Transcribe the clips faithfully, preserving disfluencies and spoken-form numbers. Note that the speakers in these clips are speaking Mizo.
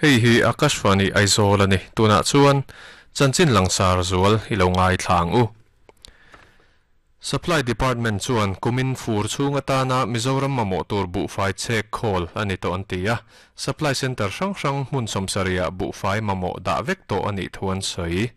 Hei hi Akashvani Aizawl ani. Tunah chuan chanchin langsar zual i lo ngai thlang u. Supply Department chuan kumin fur chhung atana Mizoram mamawh tur buhfai chek khawl ani tawh an ti a. Supply Center hrang hrang hmun sawmsarih ah buhfai mamawh dah vek tawh anih thu an sawi.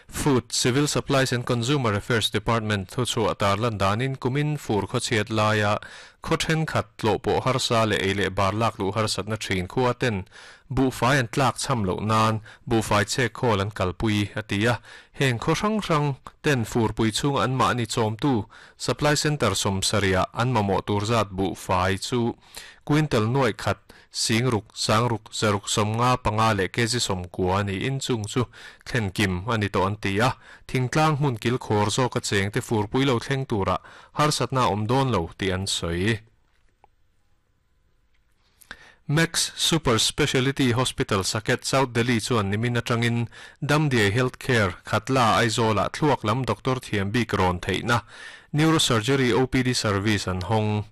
Food, Civil Supplies and Consumer Affairs Department thu chhuah tarlan danin kumin fur khawchhiat laia khaw thenkhat tlawh pawh harsa leh ei leh bar lak luh harsatna thin khua ten buhfai an tlak cham loh nan buhfai chek khawl an kalpui a ti a. Heng khaw hrang hrang ten furpui chhung an mahni chawmtu Supply Center sawmsarih ah an mamawh tur zat buhfai chu quintal nuai khat singruk sangruk zaruk sawmnga panga leh kg sawmkua niin chung chu thlen kim ani tawh an ti a. Thingtlang hmun kil khawr zawk a cheng te furpui lo thleng tura harsatna awm dawn lo tih an sawi. Max Super Speciality Hospital Saket South Delhi chuan nimin atangin Damdiai Healthcare Khatla Aizawl ah thluak lam Doctor Thiam bik rawn theihna Neurosurgery O P D service an hawng.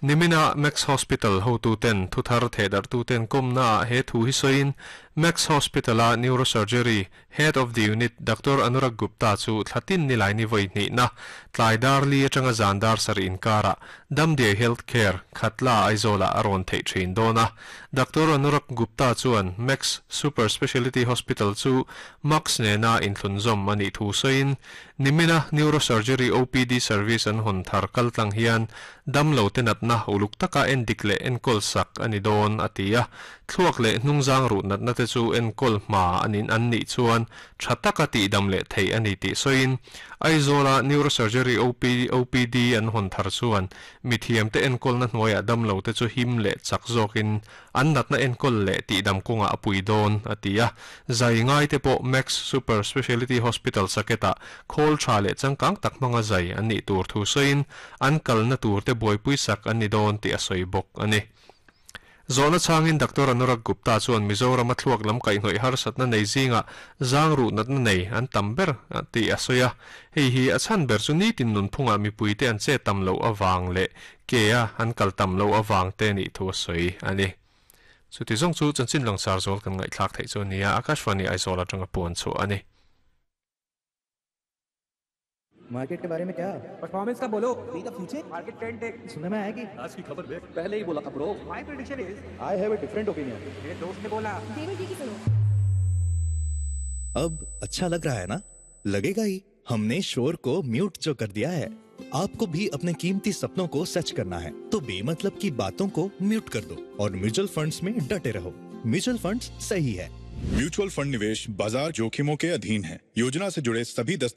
Nimina Max Hospital hotu ten thuthar thedar tu ten komna he thu hi soin Max Hospital a Neurosurgery Head of the Unit Doctor Anurag Gupta chu thlatin nilai ni voi ni na tlai dar li atanga zandar sar inkara Damdiai Healthcare Khatla Aizawl ah aron thei thin dona. Doctor Anurag Gupta chuan Max Super Speciality Hospital chu Max nena inthlunzawm ani thu soin nimina Neurosurgery O P D service an hon thar kaltlang hian damlo te natna uluk taka endik leh enkawl sak ani dawn a ti a. Thluak leh hnungzang ru natna te chu enkawl hma anin an nih chuan tha taka tih dam leh thei ani tih sawiin Aizawl a Neurosurgery O P O P D an hawn thar chuan mithiam te enkawlna hnuaiah damlo te chu him leh chak zawkin an natna enkawl leh tih dam kawngah a pui dawn a ti a. Zai ngai te pawh Max Super Speciality Hospital Saket ah khawl tha leh changkang tak hmanga zai an nih tur thu sawiin an kalna tur te buaipui sak an ni dawn tih a sawi bawk ani. Zawhna changin Doctor Anurag Gupta chuan Mizoram a thluak lam kaihhnawih harsatna nei zinga zangru natna nei an tam ber tih a sawi a. Hei hi a chhan ber chu nitin nunphunga mipui te an che tam loh awang leh ke a an kal tam loh awang te nih thu a sawi ani. Chuti zawng chu chanchin langsar zawl kan ngaihthlak theih chu nia. Akashvani Aizawl atanga puan chu ani. Market के बारे में क्या? परफॉर्मेंस का बोलो। See the future. Market trend देख। सुनने में आया कि आज की खबर देख। पहले ही बोला था bro. My prediction is I have a different opinion. मेरे दोस्त ने बोला। देवर जी की सुनो। अब अच्छा लग रहा है ना? लगेगा ही, हमने शोर को म्यूट जो कर दिया है। आपको भी अपने कीमती सपनों को सच करना है तो बेमतलब की बातों को म्यूट कर दो और म्यूचुअल फंड्स में डटे रहो। म्यूचुअल फंड्स सही है। म्यूचुअल फंड निवेश बाजार जोखिमों के अधीन है। योजना से जुड़े सभी दस्तावेज